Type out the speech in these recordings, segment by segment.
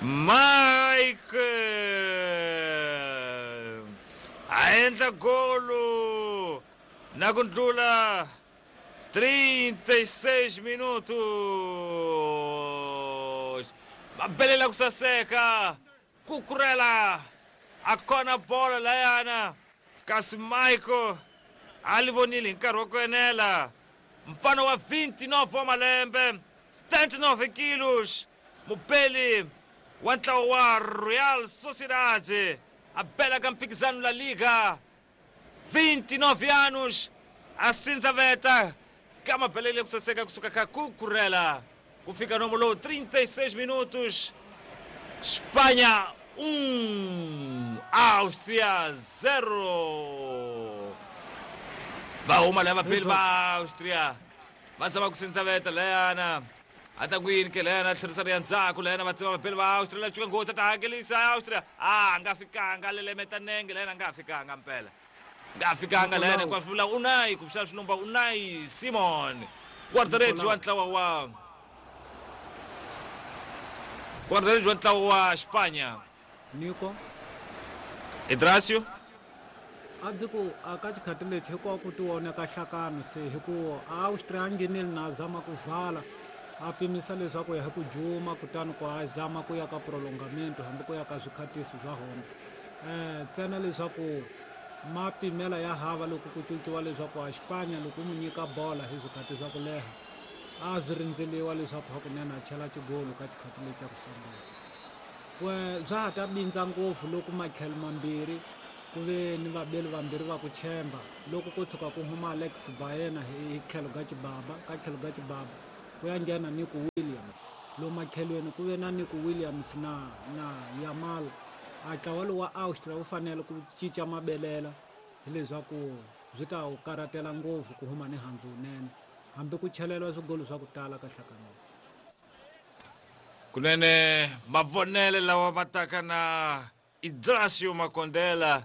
Mike a endla golo na ku ndlula 36 minutos. Va belela ku saseka Cucurella a kona bolo layana kasi Michael a li vonile hi nkarhi wa ku enela mfana wa 29 wa malembe 79 kilos mubeli wa ntlawa wa Real Sociedad a bela ka mphikizano La Liga 29 anos a sindzaveta ka mabelele ku saseka kusuka ka Cucurella ku fika nomo lowu 36 minutos Espanha 1 Áustria 0 va huma laya vabeli va Austria va zama ku sindzaveta layana a ta ku yini ke layana a tlherisa ri ya ndzhaku layana va tsema vabeli va Austria la cuka nghozi a ta hakelisa Austria a nga fikanga lelemeta nenge layana a nga fikanga mpela nga fikanga layana hinkwaswo vula Unai kumbexana swi lomba Unai Simon guarda-redes wa ntlawa wa guarda-redes wa ntlawa wa Espanha Nico Idracio a ndzi ku a ka xikhati lexi hikuva ku tivoneka hlakano se hi ku Austria a nghenile na zama ku vhala a pimisa leswaku ya hi ku juma kutani ku a zama ku ya ka prolongamento hambi ku ya ka swikhatisi swa hona ntsena leswaku mapimela ya hava loko ku cinciwa leswaku a Xipanya loko u n'wi nyika bola hi swikhathi swa ku leha a swi rindzeliwa leswaku hakunene a chela xigolo ka xikhathi lexi xa ku sungula we swa ha ta bindza ngopfu loko matlhelo mambirhi ku ve ni vabeli vambirhi va ku tshemba loko ko tshuka ku huma Alex Baena hi tlhelo ka xibaba ka tlhelo ka xibaba ku ya nghena Nico Williams lomu matlhelweni ku ve na Nico Williams na na Yamal a ntlawa lowu wa Austria wu fanele ku cinca mabelela hileswaku swi ta wu karhatela ngopfu ku huma ni handzu wunene hambi ku cheleriwa swigolo swa ku tala ka hlakanelo Kunene mavonele lawa ma taka na Idrasio Makondela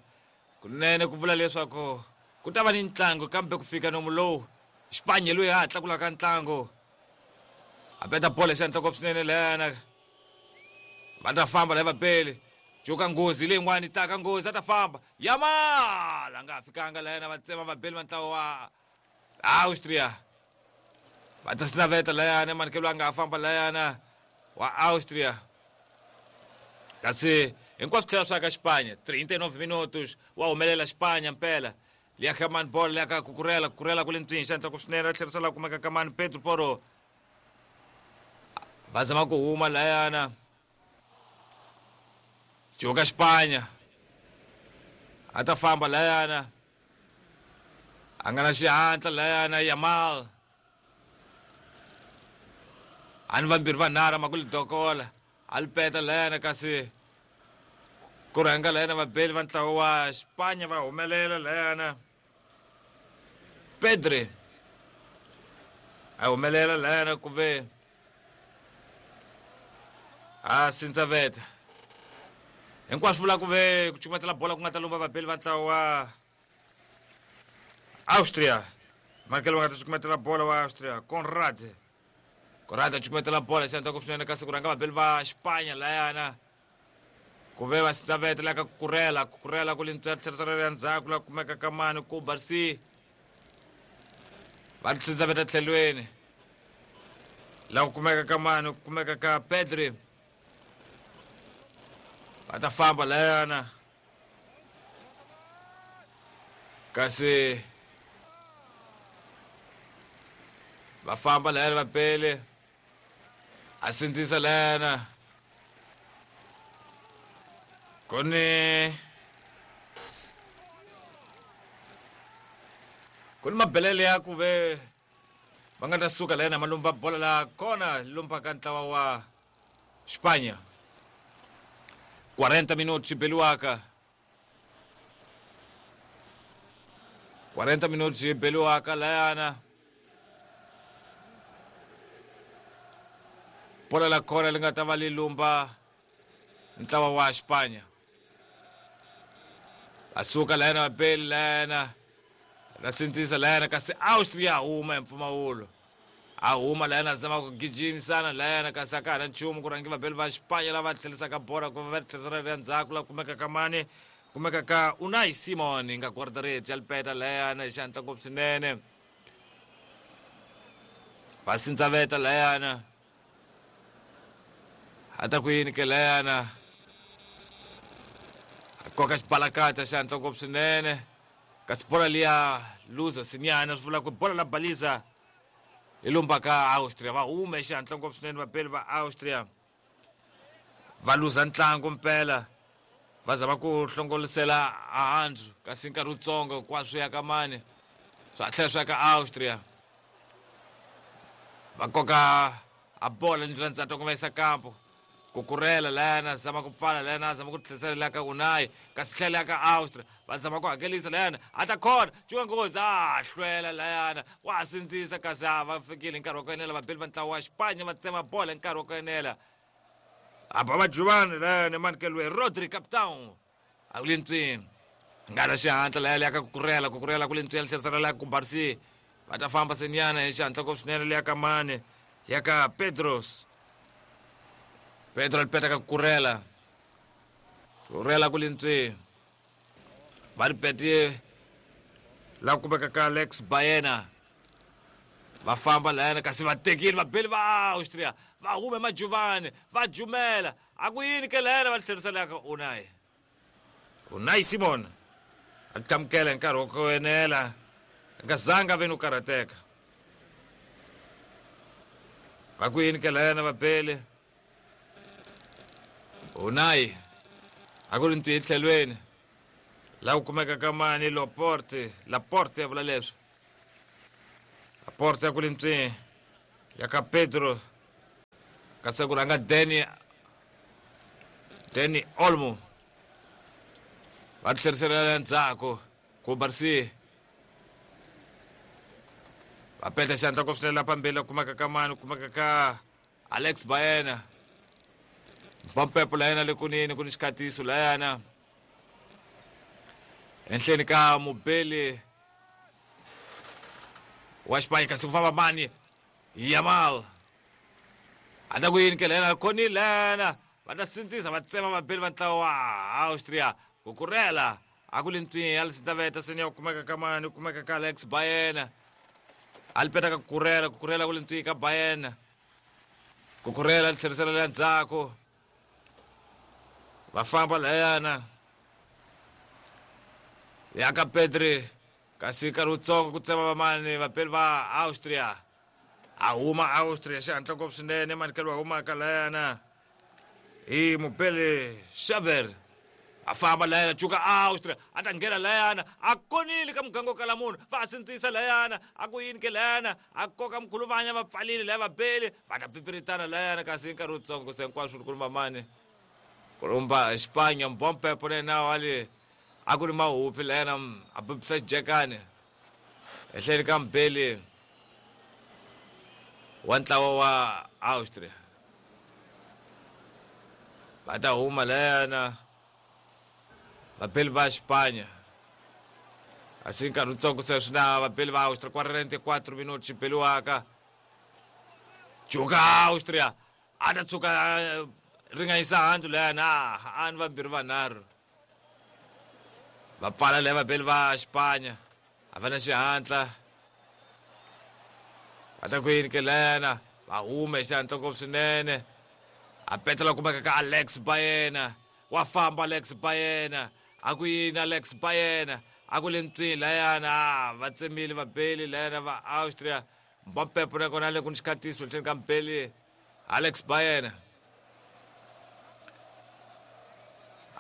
kunene ku vula leswaku ku ta va ni ntlangu kambe ku fika nomu lowu Xipanye loyi a ha tlakulaka ntlangu a peta bolo hi xandla ngopfu swinene lana va ta famba la vapeli cuka nghozi leyin'wana yi taka nghozi a ta famba Yamal a nga ha fikanga layana va tsema vabeli va ntlawa wa Austria va ta sinaveta layana manikelo a nga ha famba layana wa Austria kasi hinkwaswo tlhela swa ka Xipanya 39 minutos wa humelela Xipanya mpela liya ka mani bolo liya ka kukurela kukurela ku le ntswini xandla ku swinene a tlherisa la kumeka ka mani Pedro Porro va zama ku huma layana cuka Xipanya a ta famba layana a nga na xihatla layana Yamal a ni vambirhi vanharhu ma ku li dokola a li peta layana kasi ku rhanga layana vabeli va ntlawa wa Xipanya va humelela layana Pedri a humelela layana ku ve a sindzaveta hinkwaswo vula ku ve ku cukumetela bola ku nga ta lomba vabeli va ntlawa wa Austria Michael va nga ta cukumetela bola wa Austria Conrad Conrad a cukumetela bola xandla ku swinene kasi ku rhanga vabeli va Xipanya layana ku ve va sindzaveta la ka kukurela kukurela ku le tlherisela ya ndzhaku la kumeka ka mani ku barsi va sindzaveta tlhelweni la ku kumeka ka mani ku kumeka ka Pedri va ta famba layana kasi va famba layana va pele a sindzisa layana ku ni ku ni mabelele ya ku ve va nga ta suka layana ma lumba bola la kona lumba ka ntlawa wa Xipanya 40 minutos xi beliwaka 40 minutos xi beliwaka layana bola la kona li nga ta va li lumba ntlawa wa Xipanya va suka layana va beli layana ra sindzisa layana kasi Austria huma hi mpfumawulo. A huma layana zama ku gijimisana layana kasi a ka ha na nchumu ku rhangi vabeli va Xipanya lava tlherisaka bora ku va tlherisela le ndzhaku la kumeka ka mani kumeka ka Unai Simon nga guardareti ya lipeta layana hi xihatla ngopfu swinene. Va sindzaveta layana a ta ku yini ke layana a koka xibalakata xihatla ngopfu swinene kasi bola liya luza sinyana swi vula ku bola la baliza hi lumba ka Austria. Va hume xihatla ngopfu swinene vabeli va Austria va luza ntlangu mpela va zama ku hlongolisela ahandzu kasi nkarhi wutsongo hinkwaswo ya ka mani swa tlhela swi ya ka Austria. Va koka a bola ndlela ndzhaku ku va yisa kampo kukurela layana zama ku pfala layana zama ku tlherisela la ka Unai kasi tlhela ya ka Austria va zama ku hakelisa layana a ta khona cuka nghozi a hlwela layana wa sindzisa kasi a va fikile hi nkarhi wa ku enela vabeli va ntlawa wa Xipanya va tsema bola hi nkarhi wa ku enela a ba vajuvani layana emanikeliwe Rodri Capitão a ku le ntswini nga na xihatla laya leya ka kukurela kukurela ku le ntswini tlherisela la ku Barsi va ta famba senyana hi xihatla ngopfu swinene leya ka mani ya ka Pedros Pedro alipeta ka kukurela kurela ku le ntswini va ri pete la kumeka ka Alex Baena va famba layana kasi va tekile vabeli va Austria va hume majuvani va jumela a ku yini ke layana va tlherisela ka Unai Unai Simon a tlamukela hi nkarhi wa ku enela a nga zanga ve ni ku karhateka va ku yini ke layana vabeli Unai a ku ri ntiyi tlhelweni la ku kumeka ka mani Laporte Laporte ya vula leswi Laporte ya ku le ntswini ya ka Pedro kasi ku rhanga Dani Olmo va tlherisela endzhaku ku Barsi va peta xandla ku swinene la phambili kumeka ka mani kumeka ka Alex Baena Mpampepo layana le kunini ku ni xikhatiso layana enhleni ka mubeli wa Xipanya kasi ku famba mani Yamal a ta ku yini ke layana khonile layana va ta sindzisa va tsema vabeli va ntlawa wa Austria ku kurela a ku le ntswini ya lisitaveta seni ya kumeka ka mani kumeka ka Alex Baena a li peta ka kukurela kukurela ku le ntswini ka Baena kukurela tlherisela le ndzhaku va famba layana ya ka Pedri kasi nkarhi wutsongo ku tsema vamani vapeli va Austria a huma Austria xihatla ngopfu swinene manikelo wa humaka layana hi mupeli Xaver a famba layana cuka Austria a ta nghena layana a konile ka muganga wo kala munhu va sindzisa layana a ku yini ke layana a koka mkhuluvanya va pfalile laya vabeli va ta pipiritana layana kasi nkarhi wutsongo se hinkwaswo ku lumba mani ku lumba Xipanya mbompepo na yena wale a ku ri mahupi layana a pepisa xijekani ehleni ka mubeli wa ntlawa wa Austria va ta huma layana vabeli va Xipanya asi nkarhi wutsongo se swi na vabeli va Austria 44 minuti xi beliwaka cuka Austria a ta tshuka ringanyisa handzu layana a ni vambirhi vanharhu va pfala laya vabeli va Xipanya a va na xihatla va ta ku yini ke layana va hume hi xihatla ngopfu swinene a petela kumeka ka Alex Baena wa famba Alex Baena a ku yini Alex Baena a ku le ntswini layana va tsemile vabeli layana va Austria Mbampepo na kona le ku ni xikhatiso tlheni ka mbeli Alex Baena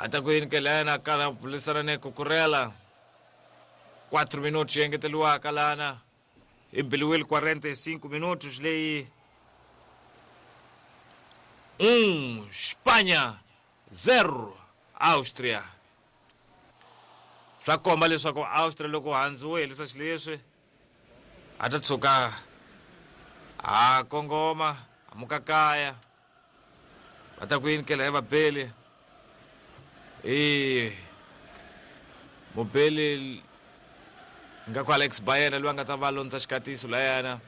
a ta ku yini ke layana kana bulisana ne kukurela 4 minutos yi engeteriwaka lana hi biliwile 45 minutos leyi 1 Xipanya 0 Austria swa komba leswaku Austria loko handzu wo helisa xileswi a ta tshuka a kongoma a muka kaya va ta ku yini kela ya vabeli i mubeli nga ku Alex Baena loyi a nga ta va londza xikatiso layana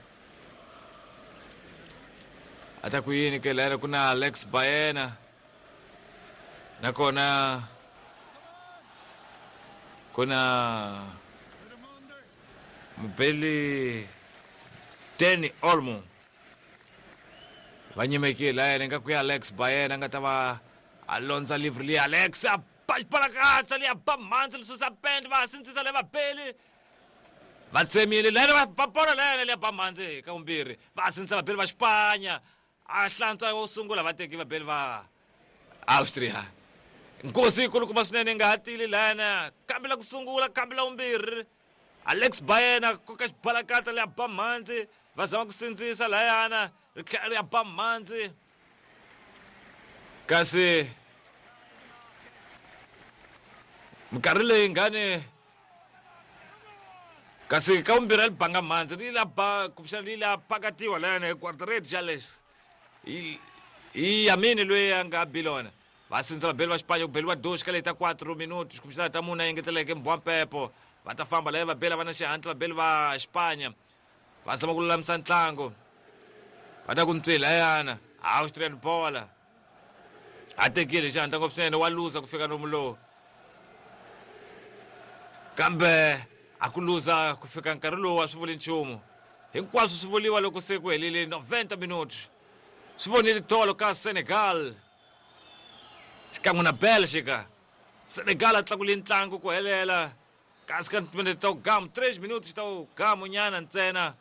A ta ku yini ke layana ku na Alex Baena nakona ku na mubeli Dani Olmo va nyimekile layana nga ku ya Alex Baena nga ta va a londza livri liya Alex a ba xibalakatsa liya ba mhandzi li susa pende va sindzisa le vabeli va tsemile layana va ba bolo layana liya ba mhandzi ka vumbirhi va sindzisa vabeli va Xipanya a hlantswa wo sungula va teki vabeli va Austria nkosi yikulukumba swinene nga ha tili layana kambe la ku sungula kambe la vumbirhi Alex Baena koka xibalakata liya ba mhandzi va zama ku sindzisa layana ri tlhela ri ya ba mhandzi kasi minkarhi leyi ngani kasi ka vumbirhi a li banga mhandzi ri la ba kumbexana ri la pakatiwa layana hi guardaredi Jales hi Yamini loyi a nga bilona va sindza vabeli va Xipanya ku beliwa doxi ka leyi ta 4 minuti kumbexana ta mune engeteleke mbwampepo va ta famba laya vabeli va na xihatla vabeli va Xipanya va zama ku lulamisa ntlangu va ta ku ntswi layana Austrian bola a tekile xihatla ngopfu swinene wa luza ku fika nomu lowu kambe a ku luza ku fika nkarhi lowu a swi vuli nchumu hinkwaswo swi vuriwa loko se ku helile 90 minuti swi vonile tolo ka Senegal xikan'we na Belgica Senegal a tlakule ntlangu ku helela kasi ka timinete ta gamu 3 minuti ta gamu nyana ntsena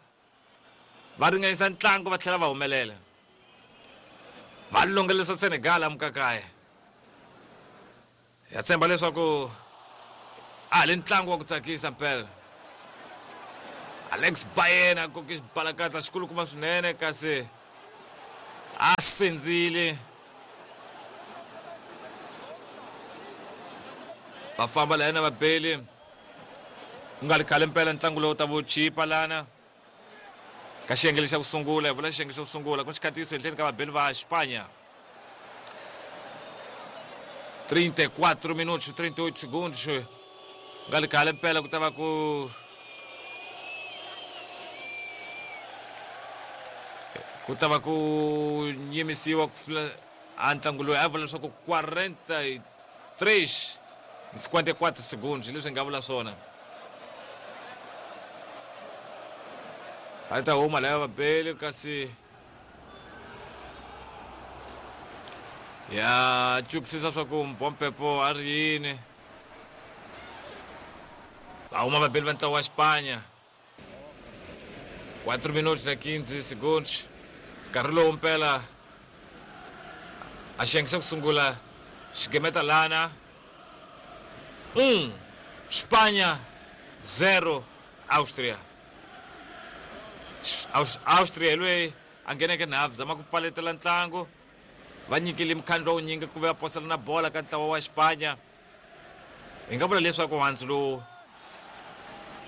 va ringanisa ntlangu va tlhela va humelela va longelisa Senegal amukakaya ya tshemba leswaku a le ntlangu wa ku tsakisa mpela Alex Baena koke xibalakatla xikulukumba swinene kasi a sindzile va famba layana vabeli ku nga ri khale mpela ntlangu lowu ta vo chipa lana ka xiyenge lexa ku sungula hi vula xiyenge xa ku sungula ku xikhatiso henhleni ka vabeli va Xipanya 34 minutos 38 segundos nga ri khale mpela ku ta va ku ku ta va ku yimisiwa ku a ntlangu loyi a vula leswaku 43 54 segundos leswi hi nga vula swona a ta huma laya vabeli kasi ya cukisisa swa ku mbompepo a ri yini va huma vabeli va ntlawa wa Xipanya 4 minutos na 15 segundos nkarhi lowu mpela a xiyenge xa ku sungula xigemeta lana 1 Xipanya 0 Austria Austria hi loyi a ngheneke nhavu zama ku pfaletela ntlangu va nyikile mukhandlu wa wunyingi ku va posela na bola ka ntlawa wa Xipanya hi nga vula leswaku handzu lowu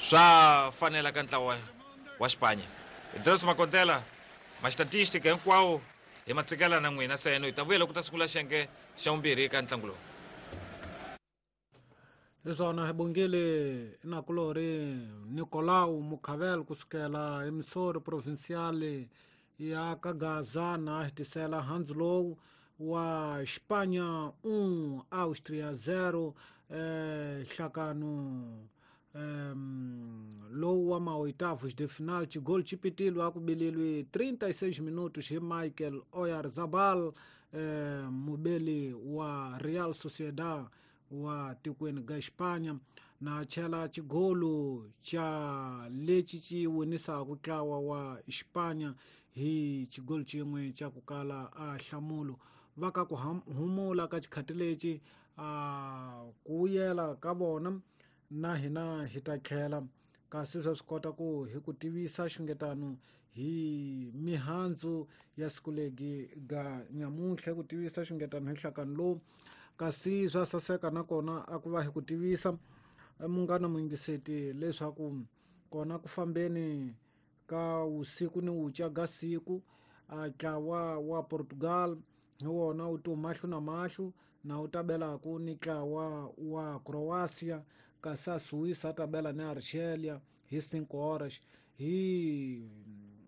swa fanela ka ntlawa wa Xipanya Idris Makontela ma-statistic hinkwawo hi ma tsikela na n'wina seno hi ta vuya loko ta sungula xiyenge xa vumbirhi ka ntlangu lowu hi swona hi bongile nakulorhi Nicolau Mukhavel kusukela emisori provincial ya ka Gaza na hetisela handzu lowu wa Xipanya 1 Austria 0 nhlakano lowu wa maoitavos de final xigol xi pitilwe a ku belelwe 36 minutos hi Michael Oyarzabal mubeli wa Real Sociedad wa tikweni ga Xipanya na chela xigolo xa lexi xi winisaka ntlawa wa Xipanya hi xigolo xin'we xa ku kala a hlamulo va ka ku humula ka xikhati lexi a ku vuyela ka vona na hina hi ta tlhela kasi swa swi kota ku hi ku tivisa xungetano hi mihandzu ya siku legi ga nyamuntlha ku tivisa xungetano hi nhlakano lowu kasi swa saseka nakona a ku va hi ku tivisa munghana muyingiseti leswaku kona ku fambeni ka usiku ni wuca ga siku a ntlawa wa Portugal hi wona wu to mahlo na mahlo na wu tabelaku ni ntlawa wa Croatia kasi a Suíça a tabela ni Argelia hi 5 horas hi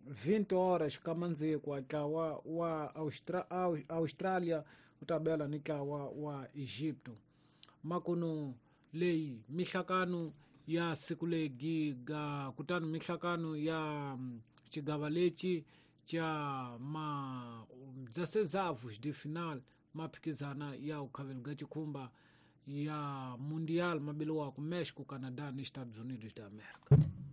20 horas kamandzikwa ntlawa wa Austrália wu ta bela ni ntlawa wa Egipto. Makuno leyi mihlakano ya siku legiga kutani mihlakano ya xigava lexi cha ma 16avos de final maphikizana ya ukhaveliga chikhumba ya Mundial mabeliwako México, Canadá ni Estados Unidos da América.